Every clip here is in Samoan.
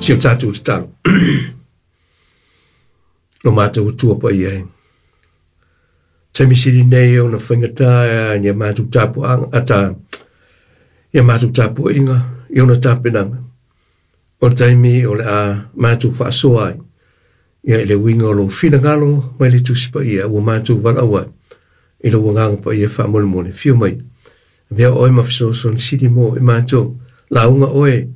Si o tatou tatalo. Lo matou Atua paia e. Taimi sili nei ona faigata ia matou tapuaga ata ia matou tapuaiga i ona tapenaga. O le taimi o le a matou faasoa ai ia i le uiga o lou finagalo mai le Tusi Paia ua matou valaau ai i lou Agaga Paia faamolemole. Afio mai, avea oe ma fesoasoani sili mo i matou, lauga oe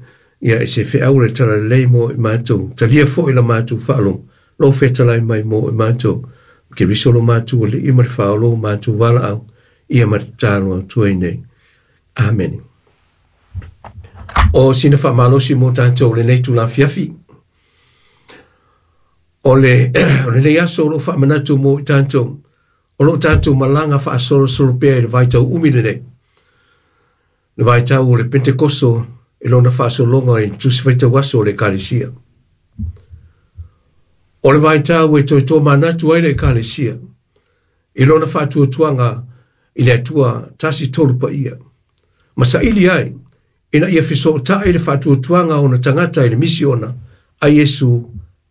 ia i se feau o le talalelei mo i matou, talia foi la matou faalogo, lou fetalai mai mo i matou, Keriso lo matou Alii ma le Faaola o matou valaau, ia ma tatalo atu ai nei. Amene. O sina faamalosi mo tatou lenei itula afiafi. O le, o lenei aso o lo o faamanatu mo i tatou, o lo o tatou malaga faasolosolo pea i le vaitau umi lenei. Le vaitau o le Pentekoso i lona faasologa i le Tusi Faitau Aso o le Ekalesia. O le vaitau e toe tomanatu ai le Ekalesia i lona faatuatuaga i le Atua Tasi Tolu Paia, ma saili ai ina ia fesootai le faatuatuaga o ona tagata i le misiona a Iesu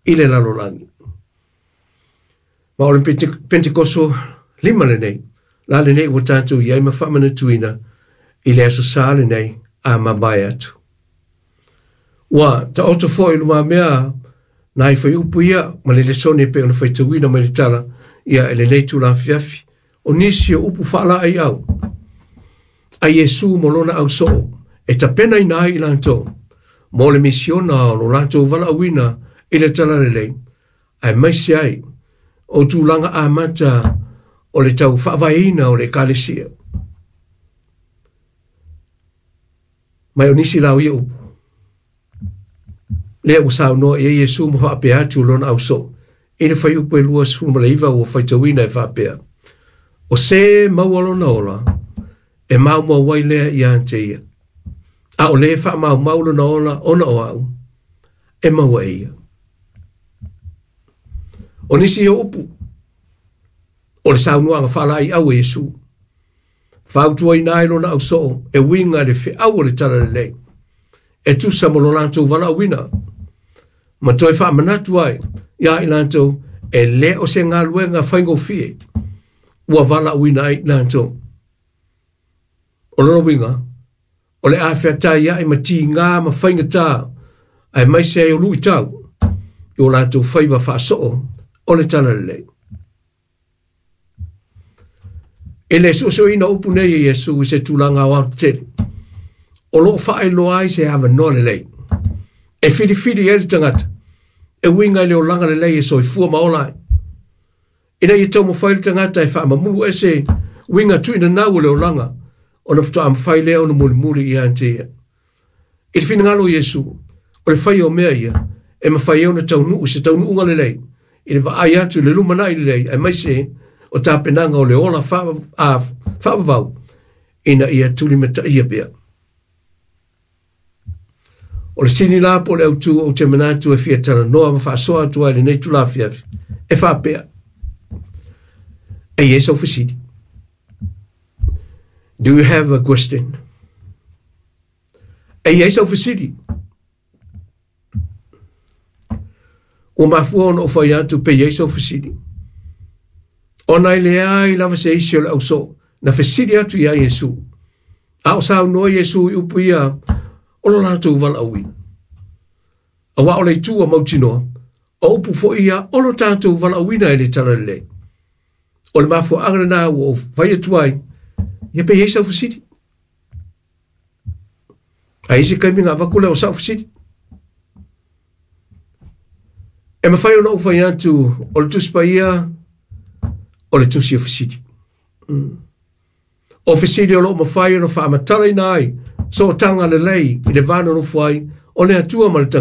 i le lalolagi. Ma o le Pentekoso 5 lenei, la lenei ua tatou i ai ma faamanatuina i le Aso Sa lenei a mavae atu. Ua taoto foi i lumamea nai fuaiupu ia ma le lesone e pei ona faitauina mai le tala ia i lenei itula afiafi. O nisi o upu faalaeiau a Iesu ma lona ausoo e tapenaina ai i latou mo le misiona o lo latou valaauina i le talalelei, aemaise ai o tulaga amata o le tau faavaeina o le Ekalesia. Mai o nisi la o ia upu, lea ua saunoa i ai Iesu ma faapea atu lona ausoo i le fuaiupu e 29 ua faitauina e faapea, O se maua lona ola, e maumau ai lea ia te ia. A o le faamaumau lona ola ona o au, e maua e ia. O nisi o upu, o le saunoaga faalaeiau a Iesu, fautuaina ai lona ausoo e uiga i le feau o le talalelei, e tusa ma lo latou valaauina, ma toe faamanatu ai ia i latou e le o se galuega faigofie ua valaauina ai i latou. O lona uiga, o le a feataiai ma tigā ma faigata, aemaise ai o luitau i o latou faiva faasoo o le talalelei. I le suesueina o upu nei e Iesu i se tulaga aoaotetele, o lo o faailoa ai se avanoa lelei e filifili ai le tagata e uiga i le olaga lelei e soifua ma ola ai. Ina ia taumafai le tagata e faamamulu ese uiga tuuinanau o le olaga, ona faatoa mafai lea ona mulimuli ia te ia. I le finagalo o Iesu, o le faia o mea ia, e mafai ai ona taunuu i se taunuuga lelei, i le vaai atu i le lumanai lelei, aemaise o tapenaga o le ola faavavau, ina ia tulimataia pea. O le sini la po o le autu ou te manatu e fia talanoa ma faasoa atu ai lenei itula afiafi, e faapea, e i ai sau fesili. Do you have a question? E i ai sau fesili. Ua mafua ona ou fai atu pe i ai sau fesili. Ona e leai lava se isi o le ausoo na fesili atu iā Iesu. A o saunoa Iesu i upu ia o lo latou valaauina. Aua o le itu ua mautinoa, o upu foi ia o lo tatou valaauina e le talalelei. O le mafuaaga lena ua ou fai atu ai, ia pe i ai sau fesili. A i se taimi ona avatu lea o sau fesili. E mafai ona ou fai atu o le Tusi Paia o le tusi o fesili. O fesili o lo o mafai ona faamatalaina ai sootaga lelei i le va nonofo ai o le Atua ma le tagata.